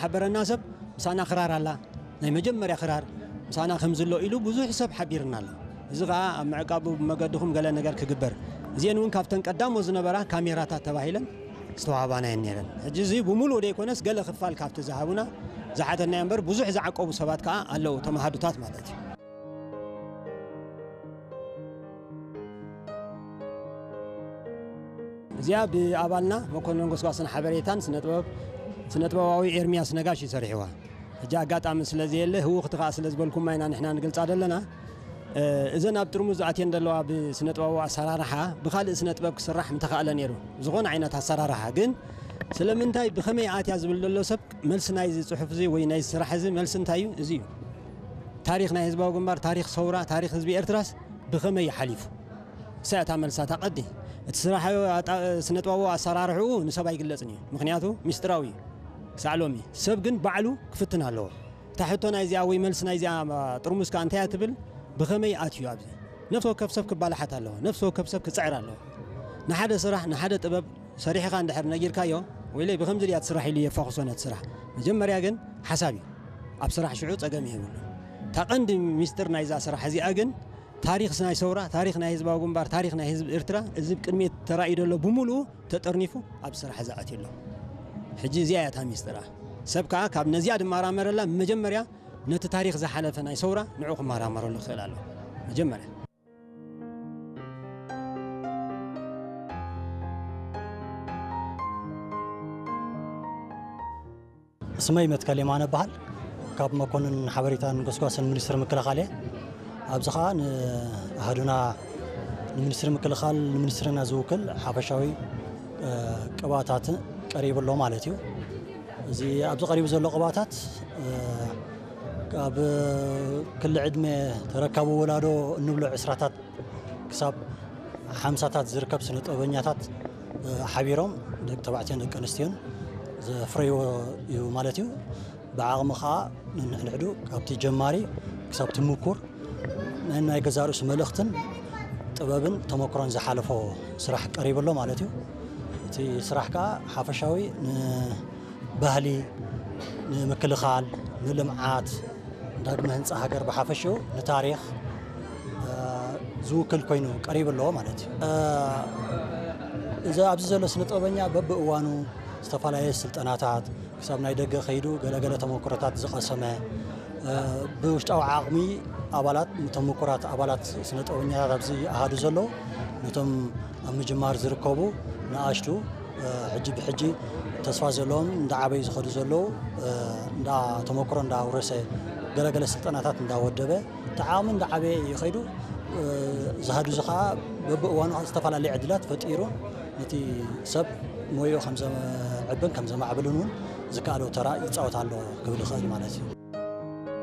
ሓበረና ሰብ ምሳና ክራር ኣላ፣ ናይ መጀመርያ ክራር ምሳና ከም ዝሎ ኢሉ ብዙሕ ሰብ ሓቢርና ኣሎ። እዚ ኸዓ ኣብ ምዕቃቡ ብመገድኹም ገለ ነገር ክግበር፣ እዚአን እውን ካብተን ቀዳሞ ዝነበራ ካሜራታት ተባሂለን ዝተዋህባና እየን ነይረን። ሕጂ እዚ ብምሉእ ዘይኮነስ ገለ ክፋል ካብቲ ዝሃቡና ዝሓተና እምበር ብዙሕ ዝዓቀቡ ሰባት ከዓ ኣለዉ፣ ተማሃዱታት ማለት እዩ። እዚኣ ብኣባልና መኮንን ጎስጓስን ሓበሬታን ስነጥበብ ስነጥበባዊ ኤርሚያስ ነጋሽ እዩ ሰሪሕዋ። ሕጂ ኣጋጣሚ ስለ ዘየለ ህውኽቲ ከዓ ስለ ዝበልኩማ ኢና ንሕና ንገልጻ ዘለና። እዘን ኣብ ጥርሙዝ ኣትየን ዘለዋ ብስነጥበባዊ ኣሰራርሓ ብኻልእ ስነጥበብ ክስራሕ ምተኻእለ ነይሩ። ዝኾነ ዓይነት ኣሰራርሓ ግን ስለምንታይ ብኸመይ ኣትያ ዝብል ዘሎ ሰብ መልሲ ናይዚ ጽሑፍ እዚ ወይ ናይዚ ስራሕ እዚ መልሲ እንታይ እዩ? እዚ እዩ። ታሪኽ ናይ ህዝባዊ ግንባር፣ ታሪኽ ሰውራ፣ ታሪኽ ህዝቢ ኤርትራስ ብኸመይ ይሓሊፉ? እሳ እታ መልሳ እታ ቀዲ። እቲ ስራሕ ኣጣ-፣ ስነጥበባዊ ኣሰራርሕኡ ንሰብ ኣይግለጽን እዩ። ምኽንያቱ ሚስጥራዊ እዩ። ክሳዕ ሎሚ ሰብ ግን ባዕሉ ክፍትን ኣለዎ። እታ ሕቶ ናይዚኣ ወይ መልሲ ናይዚኣ ጥርሙዝ ከኣ እንታይ እያ ትብል? ብኸመይ ኣትዩ ኣብዚ? ነፍሲ ወከፍ ሰብ ክባላሓት ኣለዎ። ነፍሲ ወከፍ ሰብ ክጽዕር ኣለዎ። ንሓደ ስራሕ፣ ንሓደ ጥበብ ሰሪሕኻ እንድሕር ነጊርካዮ፣ ወይለይ ብኸምዚ ድያ ትስራሕ ኢሉ የፋኹሶ ነቲ ስራሕ። መጀመርያ ግን ሓሳብ እዩ። ኣብ ስራሕ ሽዑ ጸገም የብሉ። እታ ቀንዲ ሚስጥር ናይዛ ስራሕ እዚኣ ግን ታሪኽ ናይ ሰውራ፣ ታሪኽ ናይ ህዝባዊ ግንባር፣ ታሪኽ ናይ ህዝቢ ኤርትራ፣ እዚ ቅድሚት ተራእዩ ዘሎ ብምሉኡ ተጠርኒፉ ኣብ ስራሕ ዝኣትዩ ኣሎ። ሕጂ እዚኣ እያ እታ ሚስጥራ። ሰብ ከኣ ካብ ነዚኣ ድመራመረላ መጀመርያ ነቲ ታሪኽ ዝሓለፈ ናይ ሰውራ ንዑ ክመራመረሉ ክኽእል ኣለዎ። መጀመርያ። ስመይ መትከል የማነ እበሃል። ካብ መኮንን ሓበሬታን ጎስጓስን ሚኒስትሪ ምክልኻል እየ። ኣብዚ ኸኣ ንኣሃዱና፣ ንሚኒስትሪ ምክልኻል፣ ንሚኒስትሪና ዝውክል ሓፈሻዊ፣ እ፣ ቅብኣታት ቀሪቡ ኣሎ ማለት እዩ። እዚ ኣብዚ ቀሪቡ ዘሎ ቅብኣታት፣ እ፣ ኣብ ክሊ ዕድመ ተረካቢ ወላዶ እንብሎ ዕስራታት ክሳብ ሓምሳታት ዝርከብ ስነ ጥበበኛታት፣ እ፣ ሓቢሮም ደቂ ተባዕትዮን ደቂ ኣንስትዮን ዘፍረይዎ እዩ ማለት እዩ። ብዓቕሚ ኸኣ ነንሕድሕዱ ካብቲ ጀማሪ ክሳብ እቲ ምኩር ናይ፣ ናይ ገዛእ ርእሱ መልእኽትን ጥበብን ተመክሮን ዝሓለፎ ስራሕ ቀሪቡ ኣሎ ማለት እዩ። እቲ ስራሕ ከኣ ሓፈሻዊ ን ባህሊ፣ ንምክልኻል፣ ንልምዓት፣ ዳግመ ህንጻ ሃገር ብሓፈሽኡ፣ ንታሪኽ፣ እ፣ ዝውክል ኮይኑ ቀሪቡ ኣለዎ ማለት እዩ። እ፣ እዚ ኣብዚ ዘሎ ስነ ጥበበኛ በብእዋኑ ዝተፈላለየ ስልጠናታት፣ ክሳብ ናይ ደገ ከይዱ ገለገለ ተመክሮታት ዝቐሰመ፣ እ፣ ብውሽጣዊ ዓቕሚ ኣባላት፣ ንተመኩራት ኣባላት ስነ ጥበበኛታት ኣብዚ ኣሃዱ ዘለዉ፣ ነቶም ኣብ ምጅማር ዝርከቡ ንኣሽቱ፣ እ፣ ሕጂ ብሕጂ ተስፋ ዘለዎም እንዳዓበዩ ዝኸዱ ዘለዉ፣ እ፣ እንዳ ተመክሮ እንዳውረሰ ገለገለ ስልጠናታት እንዳወደበ እቲ ዓቕሚ እንዳዓበየ እዩ ከይዱ። እ፣ ዝሃዱ እዚ ኸዓ በብእዋኑ ኸዓ ዝተፈላለየ ዕድላት ፈጢሩ ነቲ ሰብ ሞይኡ ከም ዘዕብን ከም ዘማዕብልን እውን ዝከኣሎ ተራ ይፃወት ኣሎ ክብል ይኽእል ማለት እዩ።